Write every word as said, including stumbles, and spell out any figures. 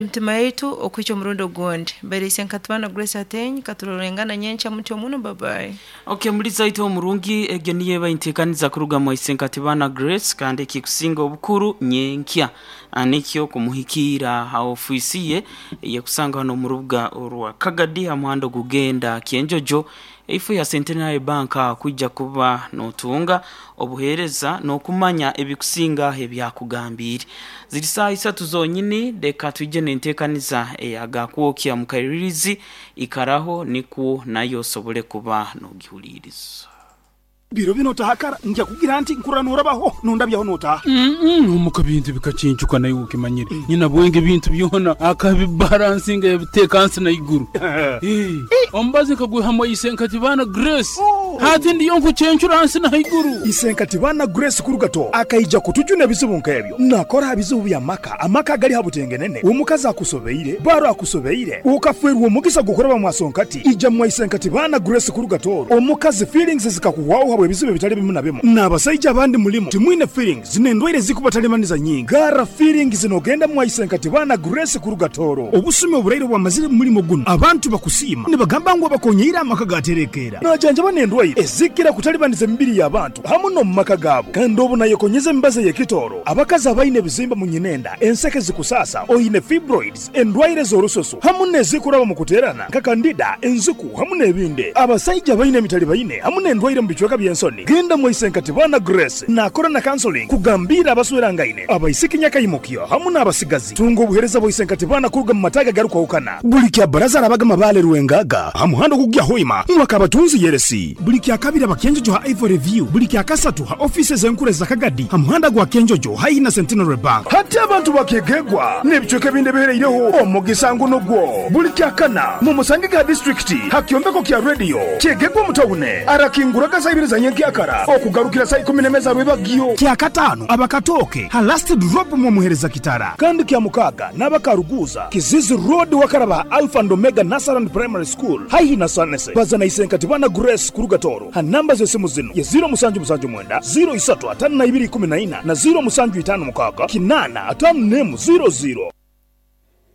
Emitima yaitu okuhikya omurundi ogundi mbaire nkatubana Grace Ateny katurorengana nyenkya mutyo muno babayi. Okay, muliza itu omurungi egyo niyo eba enteekaniza kuruga mwaise nkatibana Grace kandi ekikusinga obukuru nyenkya nikyo kumuhikiira ha ofiisi ye eyekusanga hano omu rubuga orwa Kagadi ha muhanda ogugenda Kyenjojo eifo ya Centenary Bank kwija kuba notunga obuheereza n'okumanya ebikusinga ebyakugambiire. Ziri saaha isatu zonyini leka twije n'enteekaniza eyagakwokya mu kairirizi ikaraho nikwo nayo osobole kuba n'ogihuliiriza. Biro bino otahakara nja kugira nti nkurra norabaho nondabyaho notaha. Omuka bintu bikacincuka naye ukimanyire nyina bwenge bintu byona akabibalansinga yabiteeka nsi na iguru. Eh, omubazi nkagwihamu isenkatibana Grace hati ndiyo nkucencura nsi na iguru. Isenkatibana Grace kurugato akaija kutujuna ebizibu nk'ebyo nakora bizibu bya maka amaka agali habutengenene omukazi akusobeire baro akusobeire ukafwerwa omugisa gukuraba mwasonkati ija mwa isenkatibana Grace kurugatoro omukazi feelings zikakuhwaho habwe ebizibu ebitali bimu na bimu n'abasaija abandi mulimu timwine feelings n'endwaire zikubatalibaniza nyingi gara feelings nogenda mwa isenkatibana Grace kurugatoro obusumi oburaire bwamazire mu mulimo guno abantu bakusiima nibagamba ngu abakonyeire amaka gaterekeera najanjaba n'endwaire ezikira kutalibaniza emibiri y'abantu hamu n'omu maka gaabo kandi obu nayekonyeza emibazi ey'ekitooro abakazi abaine ebizimba mu nyinenda enseke zikusasa oine fibroids endwaire z'orususu hamu n'ezikuraba mu kuteerana nka kandida enziku hamu n'ebindi abasaija baine emitali baine hamu n'endwaire mu bicweka by'ensoni genda mwa isenkatibana Grace nakora na counseling kugambira abaswerangaine abaisiki nyakaimukyo hamu n'abasigazi tunga obuheereza bwa isenkatibana kuruga mu mataga garukwahukana buli kya baraza arabaga mabale rwengaga ha muhanda ogugya hoima mwaka abatunzi yeresi buli kya kabiri abakenjojo ha Ivory View buli kya kasatu ha office zenkure za Kagadi ha muhanda gwa Kenjojo haihi na Centenary Bank hati abantu bakegegwa n'ebicweka ebindi ebihereireho omugisa nguno gwo buli kya kana mu musange ga district ha kyombeko kya radio kyegegwa mutawune arakinguraga saa ibiri za nyenkyakara okugarukira saa ikumi n'emeza rwebagyo kya katano abakatoke ha last drop mu muhereza kitara kandi kya mukaga n'abakaruguza Kizizi Road wakaraba Alpha and Omega Nasaran Primary School haihi na Sanese bazana isenkatibana Grace kurugatoro ha namba z'esimu zino ye ziro musanju musanju mwenda ziro isatu atano na ibiri ikumi na ina na ziro musanju itano mukaga kinana atano nemu ziro ziro.